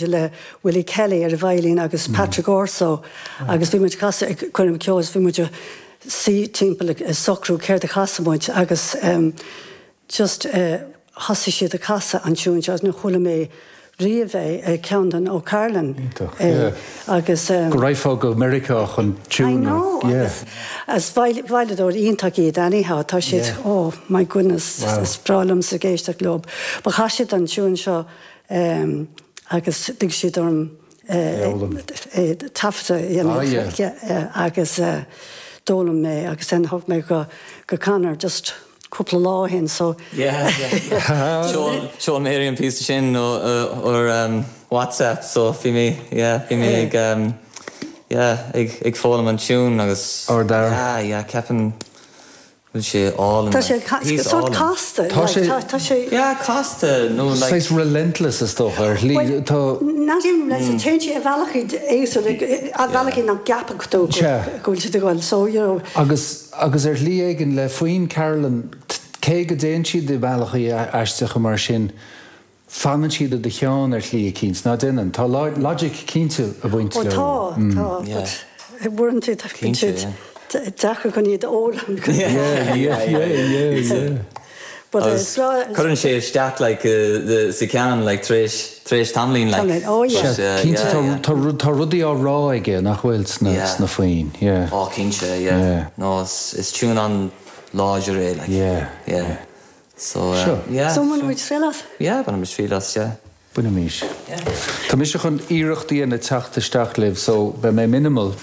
Le Willie Kelly ar an veidhlín agus Patrick Orso agus bhí muid ag casadh ag coirm ceoil is bhí muid ag suí timpeall ag socrú céard a chasfadh muid agus just thosaigh siad ag casadh an tiún seo agus níor chuala mé riamh é, ceann den O'Carolan é agus. Go raghfá go Meiriceá chun tiún I know agus is veidhleadóir iontach iad anyhow tá siad oh my goodness is breá liomsa ag éisteacht leo. But chas siad an tiún seo agus lig siad orm é taifeadadh a dhéanamh agus d'fhoghlaim mé agus then thug mé go go Conor just cúpla lá ó shin so. Yeah yeah Sheol Mary an píosa sin ar WhatsApp so bhí mé yeah bhí mé ag yeah ag ag foghlaim an tune agus yeah yeah ceapaim Bhfuil sé álainn Tá sé sórt casta. Tá sé. Tá sé. Yeah, casta nó like. Saghas relentless is dócha ar shlí. Tá. Not even relentless, téann sé ar bhealachaí éagsúla, ar bhealachaí nach gceapfadh tú go bhfuil siad ag dul. So, you know. Agus, agus ar shlí éigin le foinn Carolan, cé go dtéann siad i mbealachaí aisteacha mar sin, Fanann siad i do cheann ar shlí eicínt, ná déanann? Tá logic cinnte ag baint leo. Ó tá, tá, but uaireanta bíonn siad deacair chun iad a fhoghlaim. Yeah, yeah, yeah, yeah. But is breá. Cuireann sé isteach like sa cheann like tar éis, tar éis tamaillín like. Tamaillín, oh yeah. Sea, cinnte tá, tá rudaí á rá aige nach bhfuil sna, sna foinn, yeah. Oh cinnte, yeah. No, is tune an-láidir é like. Yeah, yeah. So, Seo. yeah. So mbainfidh muid triail as? Yeah, bainfidh muid triail as, yeah. Bainimís. Tá mise chun iarracht a dhéanamh teacht isteach libh so beidh mé minimal.